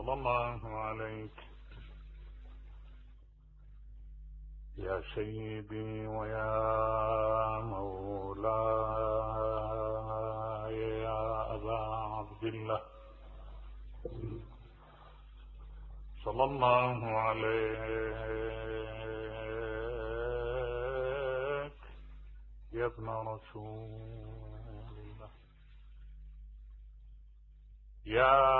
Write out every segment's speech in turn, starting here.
صلى الله عليك يا سيدي ويا مولاي يا أبا عبد الله، صلى الله عليك يا ابن رسول الله، يا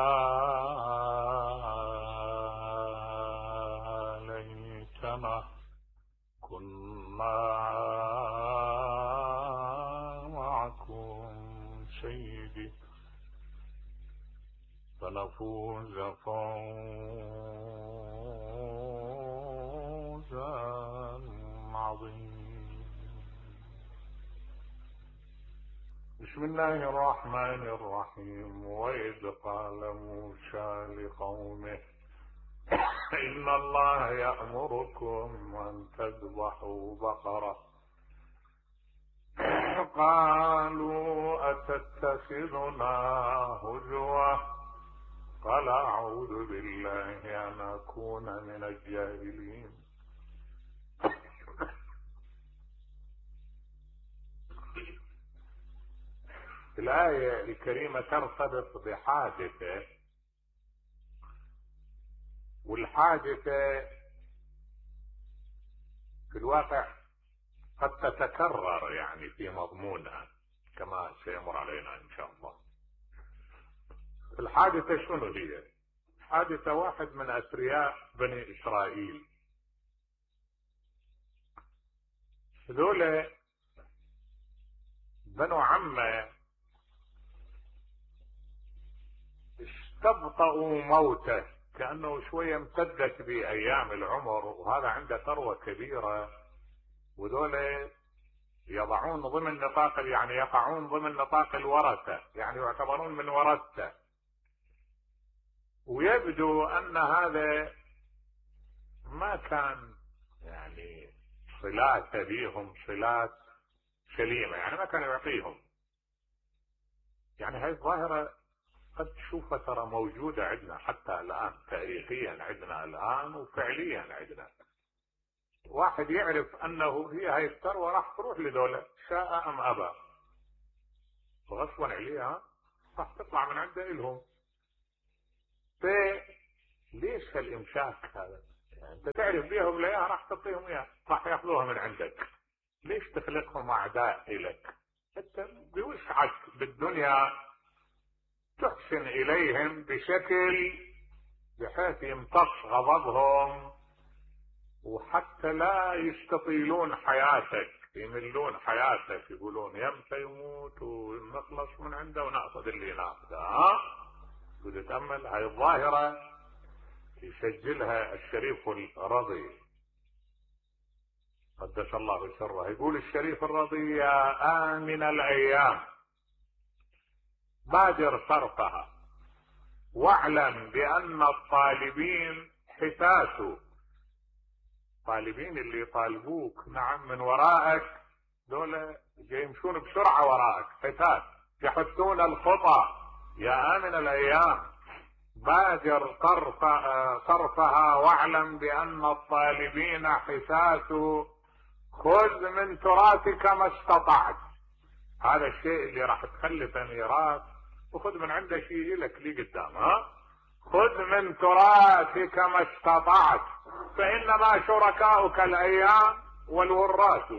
ليتنا كنا معكم سيدي فنفوز فوزا عظيما. بسم الله الرحمن الرحيم. وإذ قال موسى لقومه إن الله يأمركم أن تذبحوا بقرة، قالوا أتتخذنا هزوا، قال أعوذ بالله أن أكون من الجاهلين. الآية الكريمة ترتبط بحادثة، والحادثة في الواقع قد تتكرر يعني في مضمونها كما سيمر علينا إن شاء الله. الحادثة شنو هي؟ حادثة واحد من أثرياء بني إسرائيل، هذول بنو عمه استبطأوا موته، كأنه شوية امتدت بأيام العمر، وهذا عنده ثروة كبيرة، وذول يضعون ضمن نطاق يعني يقعون ضمن نطاق الورثة، يعني يعتبرون من ورثته، ويبدو أن هذا ما كان يعني صلات بيهم صلات سليمة، يعني ما كان يعطيهم. يعني هاي الظاهرة قد تشوفها ترى موجودة عندنا حتى الآن، تاريخيا عندنا الآن وفعليا عندنا. واحد يعرف أنه هي هاي الثروة راح تروح لدولة شاء أم أبى، غصبا عليها راح تطلع من عنده إلهم. فليش هالإمساك هذا؟ يعني أنت تعرف بيهم ليها راح تعطيهم إياها، راح يأخذوها من عندك، ليش تخلقهم أعداء إلك؟ أنت بوسعك بالدنيا تحسن إليهم بشكل بحيث يمتص غضبهم، وحتى لا يستطيلون حياتك، يملون حياتك، يقولون يمتى يموت ونخلص من عنده ونأخذ اللي ناخذه. وتتأمل هاي الظاهرة يسجلها الشريف الرضي قدس الله سره، يقول الشريف الرضي: يا آمن الأيام بادر صرفها، واعلم بأن الطالبين حتاسوا. طالبين اللي يطالبوك نعم من ورائك دول يمشون بسرعة وراءك، حتاس يحثون الخطى. يا آمن الأيام بادر صرفها، واعلم بأن الطالبين حتاسوا، خذ من تراثك ما استطعت. هذا الشيء اللي راح تخلفه ميراث، وخذ من عنده شيء لك لي قدام. خذ من تراثك ما استطعت، فإنما شركاؤك الأيام والوراث.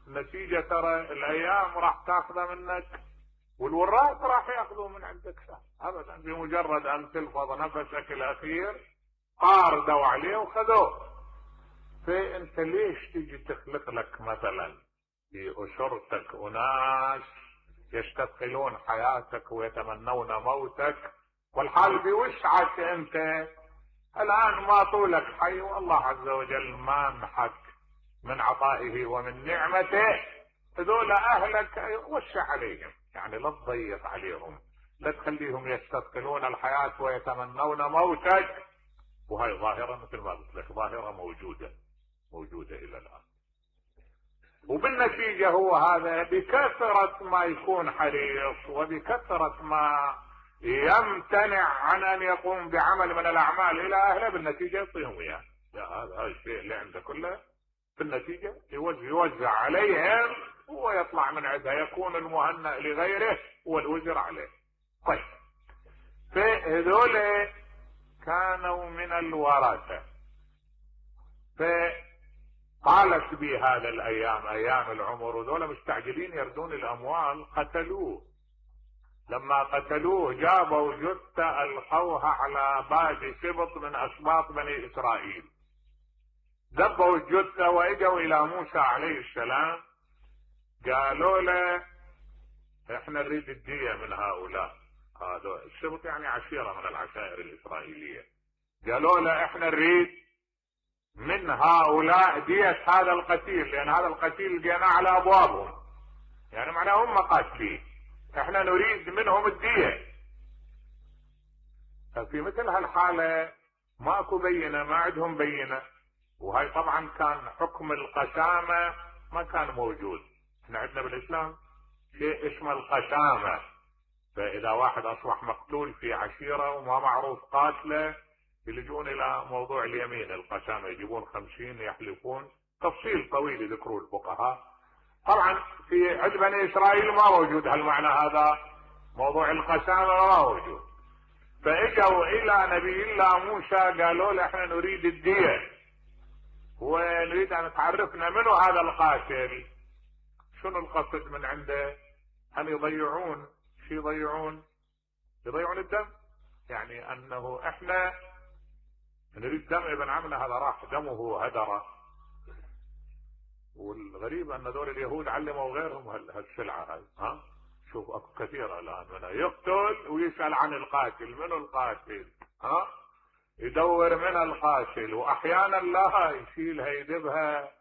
النتيجة ترى الأيام راح تاخذها منك، والوراث راح ياخذوا من عندك أبدا، بمجرد أن تلفظ نفسك الأخير قاردوا عليه وخذوه. فأنت ليش تيجي تخلق لك مثلا في أسرتك أناس يستثقلون حياتك ويتمنون موتك، والحال بوسعك أنت الآن ما طولك حي، والله عز وجل مانحك من عطائه ومن نعمته. هذول أهلك وسع عليهم، يعني لا تضيق عليهم، لا تخليهم يستثقلون الحياة ويتمنون موتك. وهي ظاهرة مثل ما قلت لك ظاهرة موجودة إلى الآن. وبالنتيجة هو هذا بكثرة ما يكون حريص، وبكثرة ما يمتنع عن ان يقوم بعمل من الاعمال الى اهله، بالنتيجه يعطيهم اياه. هذا الشيء اللي عنده كله في النتيجه يوزع عليهم ويطلع من عندها، يكون المهنأ لغيره والوزر عليه. طيب، فهذول كانوا من الورثه. فطالت بي هذا الايام، ايام العمر، وذولا مستعجلين يردون الاموال، قتلوه. لما قتلوه جابوا جثة القوها على باب سبط من اسباط بني اسرائيل، دبوا الجثة واجوا الى موسى عليه السلام، قالوا له احنا نريد الدية من هؤلاء. هذا السبط يعني عشيرة من العشائر الاسرائيلية. قالوا له احنا نريد من هؤلاء دية هذا القتيل، لان هذا القتيل جينا على ابوابهم، يعني معناه هم قاتلين، احنا نريد منهم الدية. ففي مثل هالحالة ماكو بينة، ما عندهم بينة، وهي طبعا كان حكم القسامة ما كان موجود. احنا عندنا بالاسلام شيء اسمه القسامة، فاذا واحد اصبح مقتول في عشيرة وما معروف قاتله يلجون الى موضوع اليمين القسامة، يجيبون 50 يحلفون، تفصيل طويل يذكروا الفقهاء. طبعا في عند بني اسرائيل ما موجود هالمعنى هذا، موضوع القسامة ما موجود. فاجوا الى نبي الله موسى قالوا له احنا نريد الدية ونريد ان تعرفنا منو هذا القاتل، شنو القصد من عنده، ان يضيعون شو يضيعون الدم، يعني انه احنا نريد دم ابن عمنا هذا راح دمه هدر. والغريب ان دول اليهود علموا غيرهم هالسلعه هاي. شوف اكو كثير الان منها يقتل ويسال عن القاتل، منو القاتل، يدور من القاتل، واحيانا لا يشيلها يدبها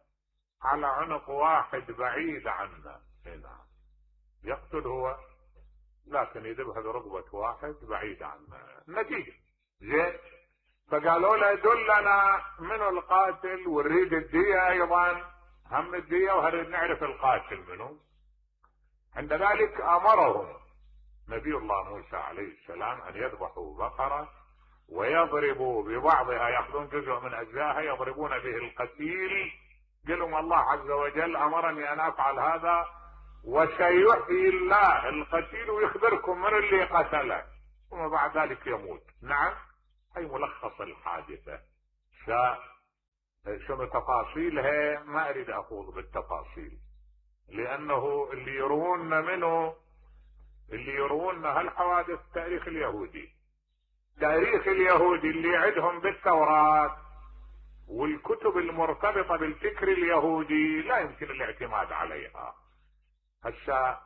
على عنق واحد بعيد عنه، هنا يقتل هو لكن يدبها برقبة واحد بعيد عنه، النتيجة زين. فقالوا له دلنا منو القاتل ونريد الدية ايضا، هم الدية وهنريد نعرف القاتل منو. عند ذلك امرهم نبي الله موسى عليه السلام ان يذبحوا بقرة ويضربوا ببعضها، ياخذون جزء من اجزائها يضربون به القتيل. قال لهم الله عز وجل امرني ان افعل هذا وسيحيي الله القتيل ويخبركم من اللي قتله، ثم بعد ذلك يموت. نعم، هي ملخص الحادثة. شنو تفاصيلها ما اريد اخوض بالتفاصيل، لانه اللي يروون هالحوادث تاريخ اليهودي، تاريخ اليهودي اللي عندهم بالتوراة والكتب المرتبطة بالفكر اليهودي لا يمكن الاعتماد عليها. هسه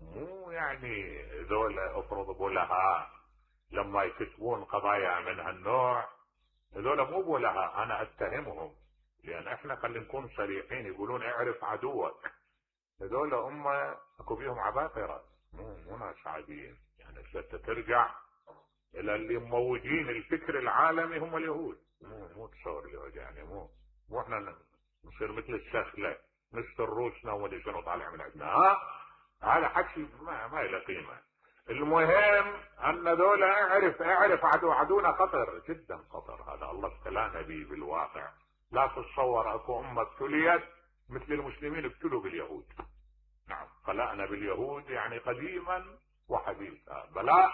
مو يعني ذول افرض بولها لما يكتبون قضايا من هالنوع، هذول مو بولها انا اتهمهم، لان احنا خلينا نكون صريحين، يقولون اعرف عدوك. هذول اكو بيهم عباقرة، مو ناس عاديين، يعني ترجع الى اللي مموجين الفكر العالمي هم اليهود، مو تصور اليهود، يعني مو احنا نصير مثل السخلة نشتر روسنا وما شنو طالع من عندنا. هذا حكي ما له قيمة. المهم ان ذولا اعرف عدونا خطر جدا، خطر. هذا الله ابتلانا به بالواقع. لا تتصور اكو امة ابتليت مثل المسلمين ابتلوا باليهود. نعم، خلقنا باليهود يعني قديما وحديثا، بلاء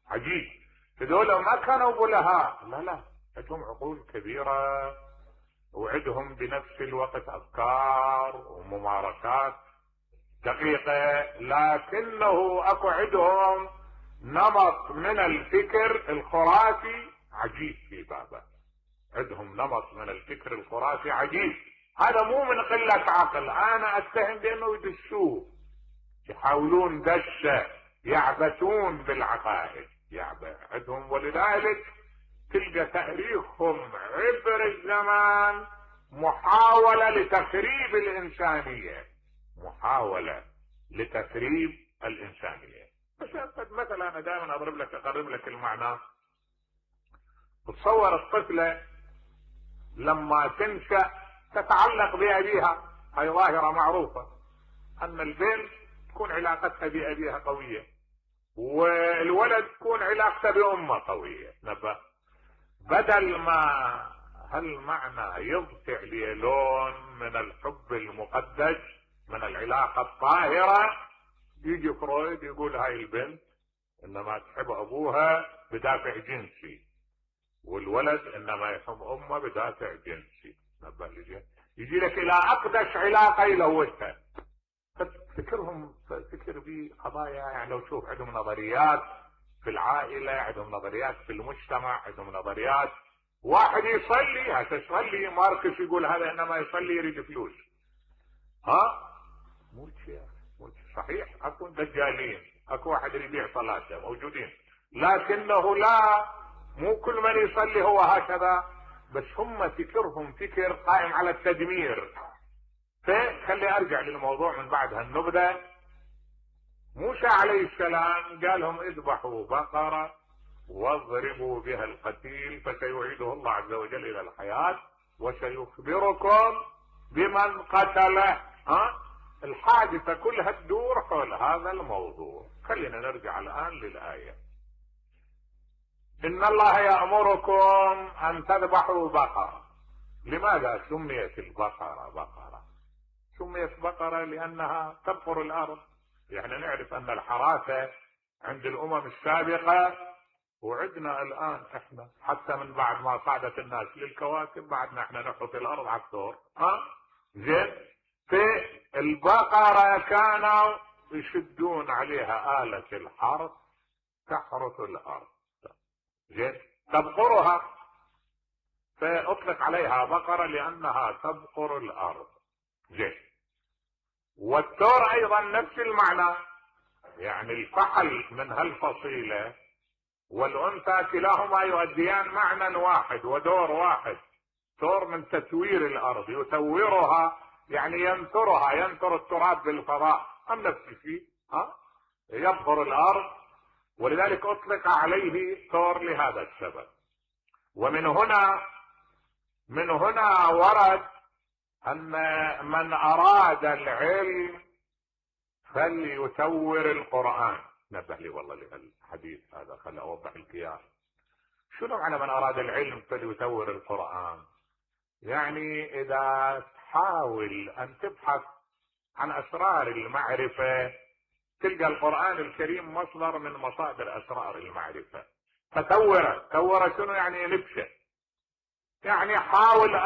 عجيب. هذول ما كانوا بلهاء، لا عندهم عقول كبيرة وعندهم بنفس الوقت افكار وممارسات دقيقة، لكنه اكو عندهم نمط من الفكر الخرافي عجيب في بابه. عندهم نمط من الفكر الخرافي عجيب. هذا مو من قلة عقل، انا اتهم بانه يدسوه، يحاولون دسه، يعبثون بالعقائد عندهم. ولذلك تلقى تاريخهم عبر الزمان محاولة لتخريب الانسانية، محاولة لتخريب الانسانية. مثلا انا دائما اقرب لك المعنى. تصور الطفلة لما تنشأ تتعلق بأبيها، هاي ظاهرة معروفة، ان البنت تكون علاقتها بأبيها قوية، والولد تكون علاقته بأمه قوية. نبه بدل ما هالمعنى يضفع لي لون من الحب المقدس من العلاقة الطاهرة، يجي فرويد يقول هاي البنت انما تحب ابوها بدافع جنسي، والولد انما يحب امه بدافع جنسي. نبه يجي لك الى اقدس علاقة يلوثها. فكرهم فكر بقضايا يعني لو تشوف عندهم نظريات في العائلة، عندهم نظريات في المجتمع، عندهم نظريات. واحد يصلي هتصلي ماركس يقول هذا انما يصلي يريد فلوس. مو شيء صحيح. اكو دجالين، اكو واحد يبيع صلاته موجودين، لكنه لا مو كل من يصلي هو هكذا. بس هم فكرهم فكر قائم على التدمير. فخلي ارجع للموضوع من بعد هالنبذة. موسى عليه السلام قال لهم اذبحوا بقرة واضربوا بها القتيل فسيعيده الله عز وجل الى الحياة وسيخبركم بمن قتله. الحادثة كلها تدور حول هذا الموضوع. خلينا نرجع الان للآية. ان الله يأمركم ان تذبحوا بقرة. لماذا سميت البقرة بقرة؟ سميت بقرة لانها تبقر الارض. يعني نعرف ان الحراثة عند الامم السابقة وعدنا الان احنا حتى من بعد ما صعدت الناس للكواكب بعدنا احنا نحرث الارض على الثور. زين. في البقرة كانوا يشدون عليها آلة الحرث تحرث الارض. زين. تبقرها فاطلق عليها بقرة لانها تبقر الارض. زين. والثور ايضا نفس المعنى، يعني الفحل من هالفصيلة والانثى كلاهما يؤديان معنى واحد ودور واحد. ثور من تثوير الارض، يثورها يعني ينثرها، ينثر التراب بالفضاء. نفس الشيء يبقر الارض، ولذلك اطلق عليه ثور لهذا السبب. ومن هنا ورد ان من اراد العلم فليثور القرآن. نبه لي والله للحديث هذا، خلي اوضح القياس. شنو معنى من اراد العلم فليثور القرآن؟ يعني اذا تحاول ان تبحث عن اسرار المعرفة تلقى القرآن الكريم مصدر من مصادر اسرار المعرفة. فثور شنو يعني؟ نبشة. يعني حاول ان